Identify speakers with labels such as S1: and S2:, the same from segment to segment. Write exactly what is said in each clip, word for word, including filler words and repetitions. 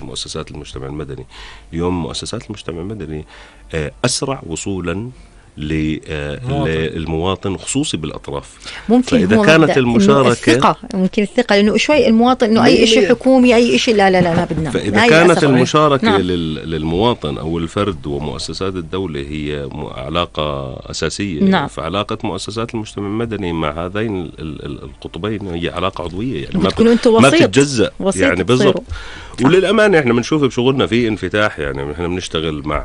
S1: مؤسسات المجتمع المدني. اليوم مؤسسات المجتمع المدني أسرع وصولا للمواطن خصوصي بالأطراف.
S2: ممكن
S1: فإذا كانت المشاركة
S2: الثقة، ممكن الثقة، لأنه شوي المواطن إنه أي شيء حكومي أي شيء لا لا لا, لا بدنا.
S1: فإذا كانت المشاركة نعم. للمواطن أو الفرد ومؤسسات الدولة هي علاقة أساسية نعم. فعلاقة مؤسسات المجتمع المدني مع هذين القطبين هي علاقة عضوية، يعني ما, ما تتجزأ يعني بالضبط. وللأمانة إحنا بنشوف بشغلنا في انفتاح، يعني إحنا بنشتغل مع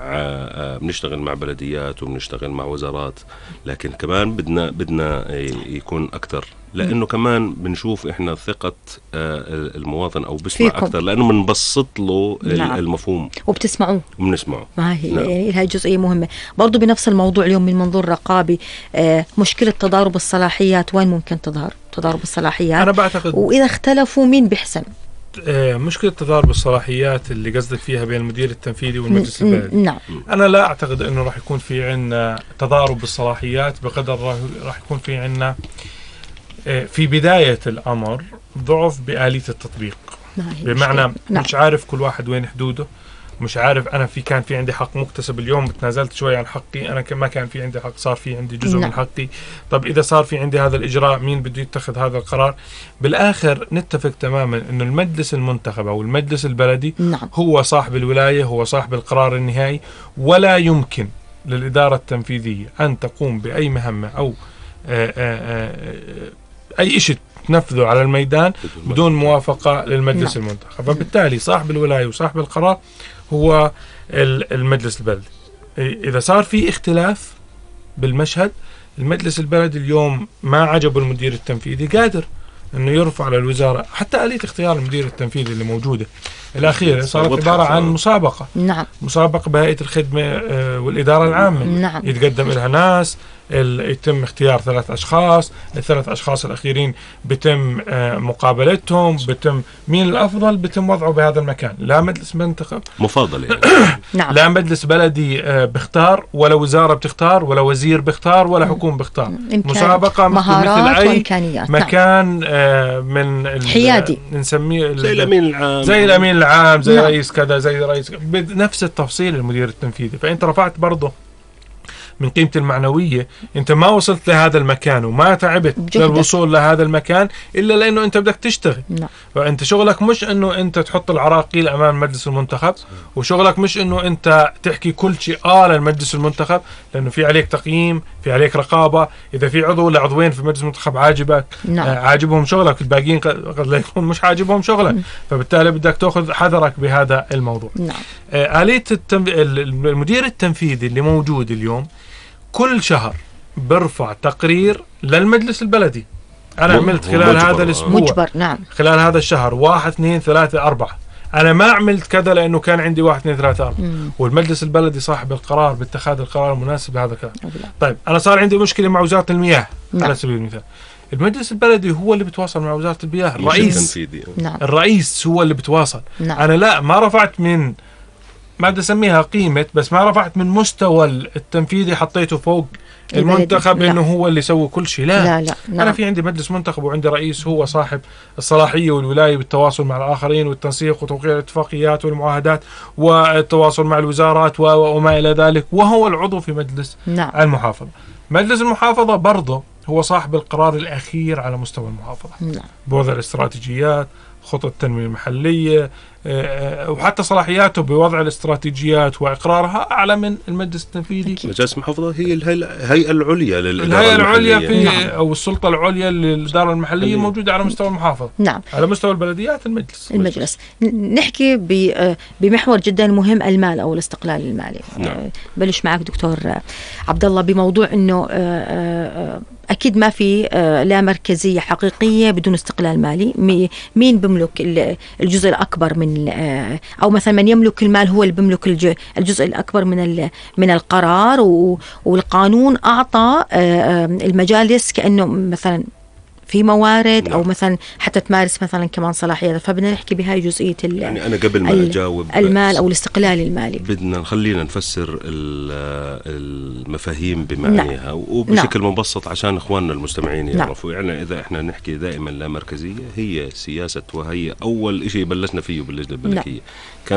S1: بنشتغل مع بلديات وبنشتغل مع وزارات، لكن كمان بدنا بدنا يكون أكتر، لأنه كمان بنشوف إحنا ثقة المواطن أو بسمع فيكم. أكتر لأنه بنبسط له نعم. المفهوم
S2: وبتسمعوه
S1: وبنسمعه.
S2: ما هي نعم. يعني هاي جزئية مهمة برضو بنفس الموضوع. اليوم من منظور رقابي مشكلة تضارب الصلاحيات، وين ممكن تظهر تضارب الصلاحيات؟
S3: أنا بعتقد
S2: وإذا اختلفوا مين بيحسم؟
S3: مشكلة تضارب الصلاحيات اللي قصدك فيها بين المدير التنفيذي والمجلس البلدي.
S2: نعم.
S3: أنا لا أعتقد أنه راح يكون في عنا تضارب بالصلاحيات، بقدر راح يكون في عنا في بداية الأمر ضعف بآلية التطبيق. بمعنى نعم. مش عارف كل واحد وين حدوده، مش عارف أنا في كان في عندي حق مكتسب، اليوم تنازلت شوي عن حقي، أنا ما كان في عندي حق صار في عندي جزء نعم. من حقي. طب إذا صار في عندي هذا الإجراء مين بده يتخذ هذا القرار؟ بالآخر نتفق تماما إنه المجلس المنتخب أو المجلس البلدي نعم. هو صاحب الولاية، هو صاحب القرار النهائي، ولا يمكن للإدارة التنفيذية أن تقوم بأي مهمة أو آآ آآ أي شيء تنفذه على الميدان بدون موافقة للمجلس نعم. المنتخب. فبالتالي صاحب الولاية وصاحب القرار هو المجلس البلدي. إذا صار في اختلاف بالمشهد، المجلس البلدي اليوم ما عجبه المدير التنفيذي قادر أنه يرفع على الوزارة. حتى آلية اختيار المدير التنفيذي اللي موجودة الأخيرة صارت عبارة عن مسابقة
S2: نعم.
S3: مسابقة بهيئة الخدمة والإدارة العامة
S2: نعم.
S3: يتقدم لها ناس، يتم اختيار ثلاث أشخاص، الثلاث أشخاص الأخيرين بتم مقابلتهم، بتم مين الأفضل بتم وضعه بهذا المكان. لا مجلس منتخب
S1: مفاضل يعني.
S3: نعم. لا مجلس بلدي بختار، ولا وزارة بتختار، ولا وزير بختار، ولا حكومة بختار. مسابقة
S2: مهارات
S3: مثل أي
S2: وإمكانيات.
S3: مكان نعم. من
S2: حيادي
S3: نسميه
S1: زي الأمين العام،
S3: زي الأمين العام، زي نعم. رئيس كذا، زي رئيس بنفس التفصيل المدير التنفيذي. فأنت رفعت برضه من قيمة المعنوية. انت ما وصلت لهذا المكان وما تعبت للوصول لهذا المكان إلا لأنه انت بدك تشتغل
S2: لا.
S3: فانت شغلك مش انه انت تحط العراقيل امام مجلس المنتخب، وشغلك مش انه انت تحكي كل شيء آه للمجلس المنتخب، لانه في عليك تقييم، في عليك رقابة. اذا في عضو ولا عضوين في مجلس المنتخب عاجبك آه عاجبهم شغلك، الباقيين قد لا يكون مش عاجبهم شغلك، فبالتالي بدك تأخذ حذرك بهذا الموضوع.
S2: نعم.
S3: آه آلية التنف... المدير التنفيذي اللي موجود اليوم كل شهر برفع تقرير للمجلس البلدي. أنا عملت خلال هذا الأسبوع
S2: مجبر. نعم.
S3: خلال هذا الشهر واحد اثنين ثلاثة أربعة. أنا ما عملت كذا لأنه كان عندي واحد اثنين ثلاثة أربعة، والمجلس البلدي صاحب القرار باتخاذ القرار المناسب لهذا الكلام. طيب أنا صار عندي مشكلة مع وزارة المياه نعم. على سبيل المثال، المجلس البلدي هو اللي بتواصل مع وزارة المياه، الرئيس
S2: نعم.
S3: الرئيس هو اللي بتواصل
S2: نعم.
S3: أنا لا ما رفعت من ما بدي أسميها قيمة، بس ما رفعت من مستوى التنفيذي حطيته فوق المنتخب إنه هو اللي يسوي كل شيء. لا,
S2: لا, لا.
S3: أنا نعم. في عندي مجلس منتخب وعندي رئيس هو صاحب الصلاحية والولاية بالتواصل مع الآخرين والتنسيق وتوقيع الاتفاقيات والمعاهدات والتواصل مع الوزارات وما إلى ذلك، وهو العضو في مجلس
S2: نعم.
S3: المحافظة. مجلس المحافظة برضه هو صاحب القرار الأخير على مستوى المحافظة
S2: نعم.
S3: بوضع الاستراتيجيات، خطط التنمية المحلية، وحتى صلاحياته بوضع الاستراتيجيات وإقرارها أعلى من المجلس التنفيذي.
S1: مجلس المحافظة هي الهيئة العليا للإدارة
S3: الهيئة العليا في
S2: نعم.
S3: أو السلطة العليا للإدارة المحلية موجودة على مستوى المحافظة.
S2: نعم.
S3: على مستوى البلديات المجلس.
S2: المجلس. نحكي بمحور جدا مهم، المال أو الاستقلال المالي.
S1: نعم.
S2: بلش معك دكتور عبد الله بموضوع إنه أكيد ما في لا مركزية حقيقية بدون استقلال مالي. مين بملك الجزء الأكبر من أو مثلا من يملك المال هو اللي بملك الجزء الأكبر من من القرار، والقانون أعطى المجالس كأنه مثلا في موارد نعم. أو مثلا حتى تمارس مثلا كمان صلاحيات. فبدنا نحكي بهاي جزئية
S1: يعني أنا قبل ما أجاوب
S2: المال أو الاستقلال المالي
S1: بدنا نخلينا نفسر المفاهيم بمعنيها نعم. وبشكل نعم. مبسط عشان إخواننا المستمعين يعرفوا نعم. يعني إذا إحنا نحكي دائما لا مركزية هي سياسة، وهي أول إشي بلشنا فيه باللجنة الملكية نعم.